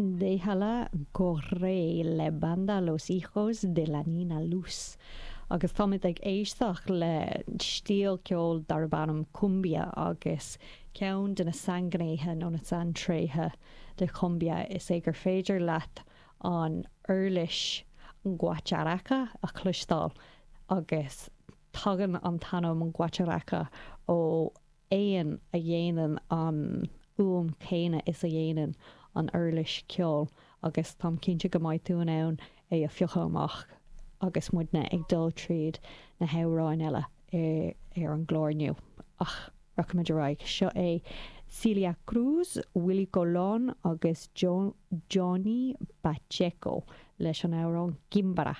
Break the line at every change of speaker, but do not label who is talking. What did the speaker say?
Déjala Correr le Banda Los Hijos de la Nina Luz. Agus táimid ag éisteacht le stíl ceoil darb ainm cumbia agus ceann de na sainghnéithe nó na saintréithe de chumbia is é gur féidir leat an uirlis guacharaca a chloisteáil agus tagann an t-ainm guacharaca ó éan a dhéanann an fhuaim chéanna is a dhéanann an uirlis ceoil agus táim cinnte go mbeidh tú in ann é a phiocadh amach agus muidne ag dul tríd na hamhráin eile ar an gclár inniu. Ach rachaimid ar aghaidh. Seo é Celia Cruz, Willie Colón agus Johnny Pacheco leis an amhrán Quimbara.